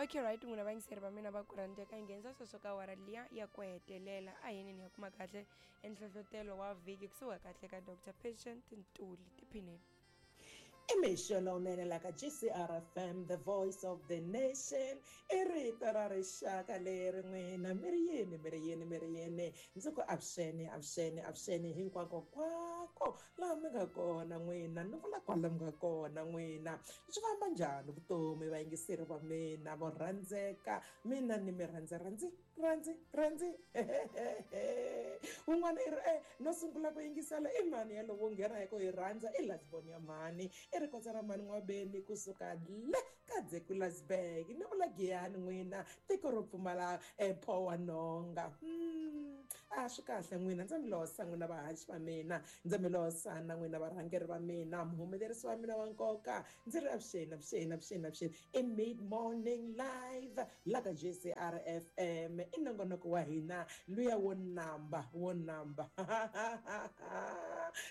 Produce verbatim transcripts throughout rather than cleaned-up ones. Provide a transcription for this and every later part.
Okay, right, n'wina vayingiseri va mina va ku rhandzeka, hi nghenisa sweswo ka awara liya ya ku hetelela. A hi yini hi ya kuma kahle enhlohlotelo wa vhiki kusuka kahle ka Doctor Patient Ntuli. Tiphineni. I mixo lowunene la ka G C R F M, the voice of the nation. I rito ra rixaka leri n'wina mi ri yini, mi ri yini, mi ri yini. Ndzi ku avuxeni, avuxeni, avuxeni hinkwako kwako laha mi nga kona n'wina, ni vula kwala mi nga kona n'wina. Swi famba njhani vutomi vayingiseri va mina vo rhandzeka? Mina ni mi rhandza, rhandzi, rhandzi, rhandzi. Un'wana i ri, eh, no sungula ku yingisela i mani yalowo nghena hi ku hi rhandza, i Lasbon ya mhani. I ri kotsa ra mhani N'wabeni kusuka le ka Dzekulasburg. Ni vula Giyani n'wina, tiko ro pfumala pho wa nhonga. Hmm, a swi kahle n'wina, ndza mi losa n'wina vahaxi va mina, ndza mi losa na n'wina varhangeri va mina, muhumelerisi wa mina wa nkoka. Ndzi ri avuxeni, avuxeni, avuxeni, avuxeni. I Mid Morning Live la ka G C R F M. I nongonoko wa hina luya wo namba, wo namba.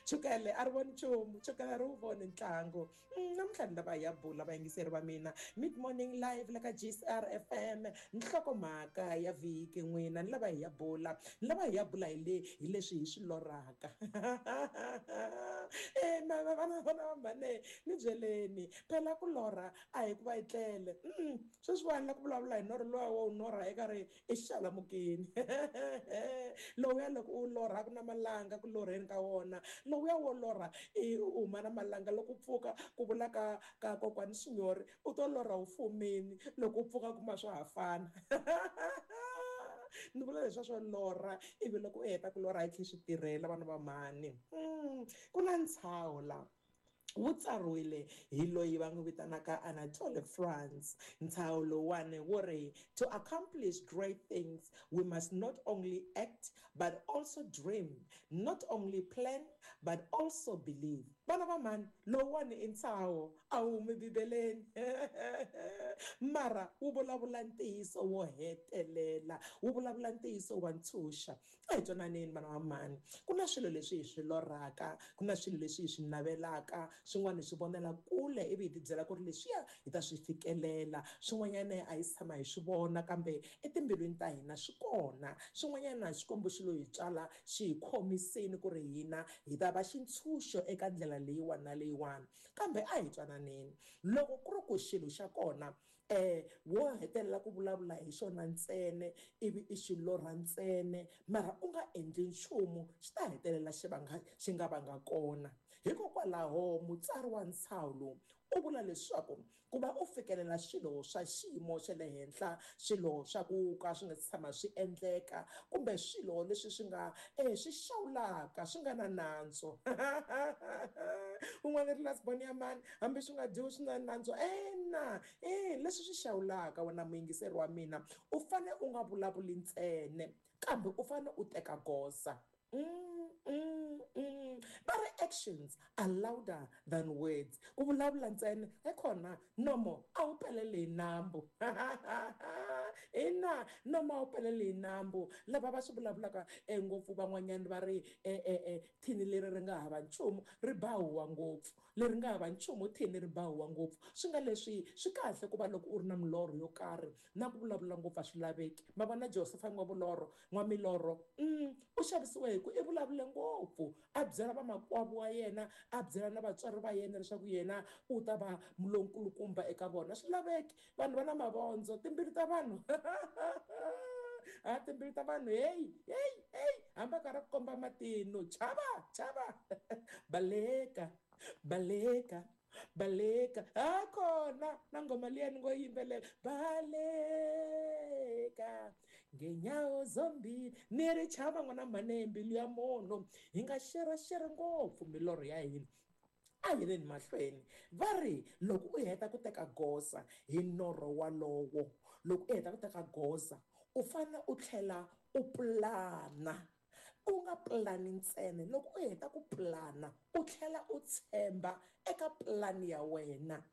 Chukele a ri voni nchumu, chukele a ri wu voni ntlangu. Namuntlha ni lava hi ya bula vayingiseri va mina. Mid Morning Live la ka G C R F M, nhlokomhaka ya vhiki n'wina, ni lava hi ya bula, ni lava hi ya bula hi le hi leswi hi swi lorhaka. Eh, vana vana va mhane, ni byeleni phela ku lorha a hi ku va hi tlele. Sweswiwani la ku vulavula hi norho luwa wo norha eka ri i xalamukeni. Lowuya loko u lorha ku na malanga ku lorheni ka wona, lowuya wo lorha i u huma na malanga loko u pfuka ku vula ka ka kokwani Xinyori u to lorha u fumini, loko u pfuka kuma swa ha fana. Ni vula leswiya swo lorha ivi loko u heta ku lorha hi tlhe swi tirhela vana va mhani. Ku na ntshaho la wu tsariwile hi loyi va n'wi vitanaka Anatole France. Ntshaho lowuwani wu ri, to accomplish great things we must not only act but also dream, not only plan but also believe. Vana va mhani, lowuwani i ntshaho, a wu humi Bibeleni. Mara wu vulavula ntiyiso wo hetelela, wu vulavula ntiyiso wa ntshunxa. A hi twananeni vana va mhani, ku na swilo leswi hi swi lorhaka, ku na swilo leswi hi swi navelaka, swin'wana hi swi vonela kule ivi hi tibyela ku ri leswiya hi ta swi fikelela, swin'wanyana a hi tshama hi swi vona kambe etimbilwini ta hina swi kona, swin'wanyana Xikwembu xi lo hi tswala xi hi khomiseni ku ri hina hi ta va xintshunxo eka ndlela leyiwani na leyiwani. Kambe a hi twananeni, loko ku ri ku xilo xa kona eh wo hetelela ku vulavula hi xona ntsena ivi i xi lorha ntsena, mara u nga endli nchumu, xi ta hetelela xi va nga xi nga va nga kona. Hikokwalaho mutsari wa ntshaho lowu u vula leswaku ku va u fikelela swilo swa xiyimo xa le henhla, swilo swa ku ka swi nga tshama swi endleka, kumbe swilo leswi swi nga eh swi xawulaka swi nga na nantswo. Un'wana ri Lasbon ya mani, hambi swi nga dyiwi swi na nantswo. Ena, eh leswi swi xawulaka wena muyingiseri wa mina, u fane u nga vulavuli ntsena, kambe u fane u teka goza. Mm, mm, mm. But actions are louder than words. Ku vulavula ntsena ekhona nomo a wu pelele hi nambu. Ina, nomo a wu pelele hi nambu. Lava va swi vulavulaka ngopfu van'wanyana va ri eh, eh, eh, thini leri ri nga hava nchumu ri ba huwa ngopfu, leri nga hava nchumu thini ri ba huwa ngopfu. Swi nga leswi swi kahle ku va loko u ri na milorho yo karhi, na ku vulavula ngopfu a swi laveki. Ma vona Josefa n'wavulorho, n'wamilorho, mm, u xavisiwe hi ku i vulavule ngopfu, a byela vamakwavo wa yena, a byela na vatswari va yena leswaku yena u ta va lonkulukumba eka vona. Swi laveki, vanhu va na mavondzo, timbilu ta vanhu. A timbilu ta vanhu, hey, hey, hey, hambi a karhi a ku komba matino, chava, chava. Baleka, baleka, baleka. A kona na nghoma liya ni ngo yimbelela, baleka ngenyawo zombili. Ni ri chava n'wana mhani, mbilu ya munhu. Hi nga xeraxera ngopfu milorho ya hina. A hi yeleni mahlweni. Va ri loko u heta ku teka goza hi norho walowo, loko u heta ku teka goza u fanele u tlhela u pulana. U nga pulani ntsena, loko u heta ku pulana u tlhela u tshemba eka pulani ya wena.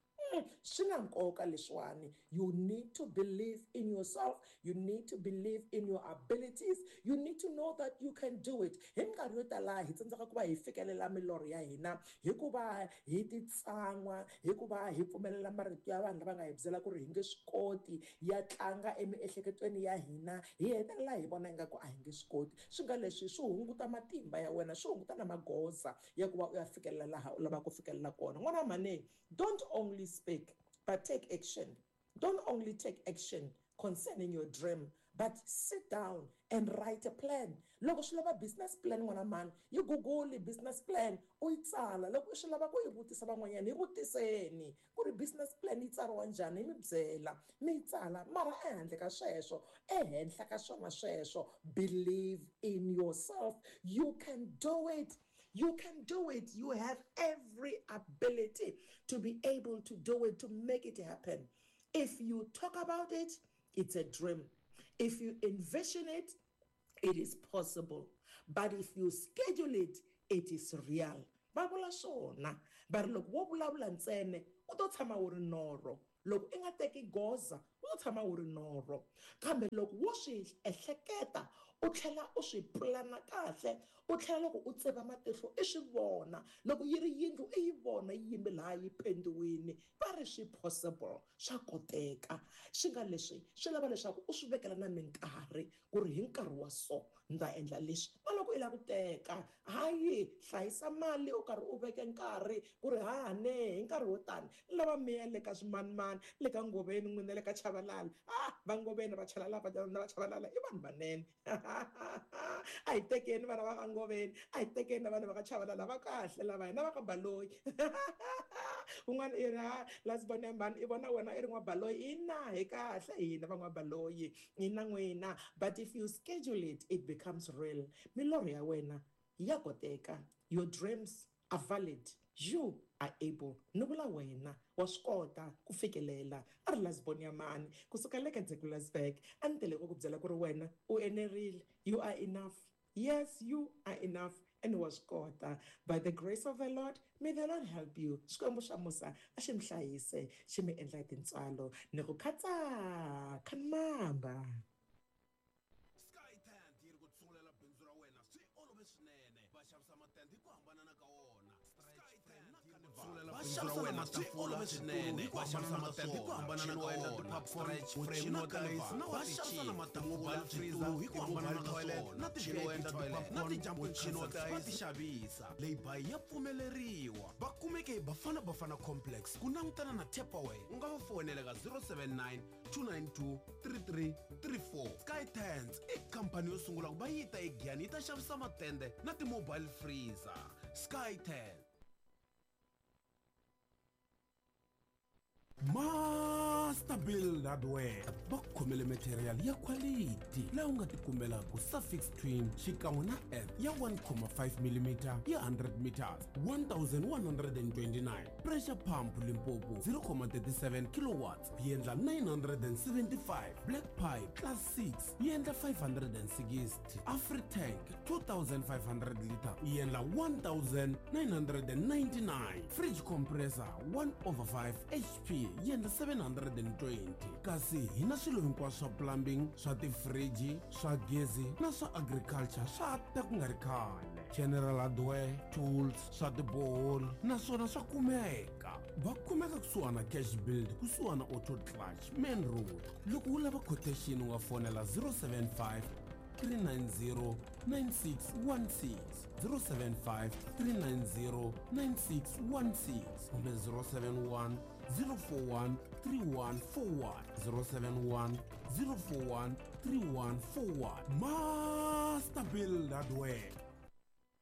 Swi na nkoka leswiwani. You need to believe in yourself. You need to believe in your abilities. You need to know that you can do it. Hi minkarhi yo tala hi tsandzeka ku va hi fikelela milorho ya hina hikuva hi titsan'wa, hikuva hi pfumelela marito ya vanhu lava nga hi byela ku ri hi nge swi koti ya tlanga emiehleketweni ya hina, hi hetelela hi vona ingaku a hi nge swi koti. Swi nga leswi swi hunguta matimba ya wena, swi hunguta na magoza ya ku va u ya fikelela laha u lavaka ku fikelela kona. N'wana wa mhani, don't only speak but take action. Don't only take action concerning your dream, but sit down and write a plan. Loko swi lava business plan, n'wana mhani, yi google business plan, u yi tsala. Loko swi lava ku yi vutisa van'wanyana, yi vutiseni ku ri business plan yi tsariwa njhani, yi mi byela, mi yi tsala. Mara ehandle ka sweswo, ehenhla ka swona sweswo, believe in yourself. You can do it. You can do it. You have every ability to be able to do it, to make it happen. If you talk about it, it's a dream. If you envision it, it is possible. But if you schedule it, it is real. Va vula swona. Va ri loko wo vulavula ntsena, u to tshama wu ri norho. Loko i nga teki goza, u to tshama wu ri norho. Kambe loko wo swi ehleketa, u tlhela u swi pulana kahle, u tlhela loko u tseva matihlo i swi vona. Loko yi ri yindlu i yi vona yi yime laha yi pendiwini, va ri swi possible, swa koteka. Swi nga leswi swi lava leswaku u swi vekela na minkarhi ku ri hi nkarhi wa so ni ta endla leswi. Na loko i lava ku teka, hayi hlayisa mali u karhi u veke nkarhi ku ri hahane hi nkarhi wo tani ni lava mi ya le ka swimanimani, le ka Ngoveni n'wina, le ka Chavalala. Ah, va Ngoveni va Chavalala, va Chavalala i vanhu vanene. A hi tekeni vana va ka Ngoveni, a hi tekeni na vanhu va ka Chavalala, va kahle lava hina va ka Baloyi. Un'wana i ri ha lasibona mhani i vona wena i ri n'wabaloyi, ina hi kahle hina va n'wabaloyi, ina n'wina. But if you schedule it, it becomes real. Milorho ya wena ya koteka. Your dreams are valid. You are able. Ni vula wena wa swi kota ku fikelela. A ri lasibona ya mani kusuka le ka Dzekulasburg, a ni tele ku ku byela ku ri wena u enerile. You are enough. Yes, you are enough and wa swi kota. By the grace of the Lord, may the Lord help you. Xikwembu xa musa a xi mi hlayise, xi mi endla hi tintswalo. Ni ku khatsa khanmamba. Sky Tent yi ri ku tsungulela bindzu ra wena swi olove swinene. Va xavisa matende hi ku hambanana ka wona. Sky Tent yi ri ku tsungulela bindzu ra wena swi olove swinene. Va xavisa matende hi ku hambanana ka wona. Stretch frame na carnival. Va xavisa na matafula, switulu hi ku hambanana ka swona. Na ti-V I P toilet, na ti-jumping concerts va ti xavisa. Lay-by ya pfumeleriwa. Va kumeke hi Bafana Bafana Complex ku langutana na Tupperware. U nga va fonela ka zero seven nine two nine two three three three four. Sky Tents i khampani yo sungula ku va yi ta eGiyani yi ta xavisa matende na ti-mobile freezer. Sky Tent. Master Build Hardware va khomele material ya quality laha u nga tikumelaka suffix twin xikan'we na earth ya one comma five millimeter ya hundred meters one thousand one hundred and twenty-nine, pressure pump Limpopo zero comma thirty-seven kilowatts yi endla nine hundred and seventy-five, black pipe class six yi endla five hundred and sixty, Afritank two thousand five hundred liter yi endla one thousand nine hundred and ninety-nine, fridge compressor one over five H P yi endla seven hundred and twenty. Kasi hi na swilo hinkwaswo swa plumbing, swa tifriji, swa gezi na swa agriculture swa ta ku nga ri khale. General hardware, tools, swa tiboholi naswona swa kumeka. Va kumeka kusuhana Cash Build, kusuhana Auto Clutch, Main Road. Loko u lava quotation u nga fonela zero seven five three nine zero nine six one six, zero seven five three nine zero nine six one six kumbe zero seven one zero four one three one four one, zero seven one zero four one three one four one. Master Build Hardware.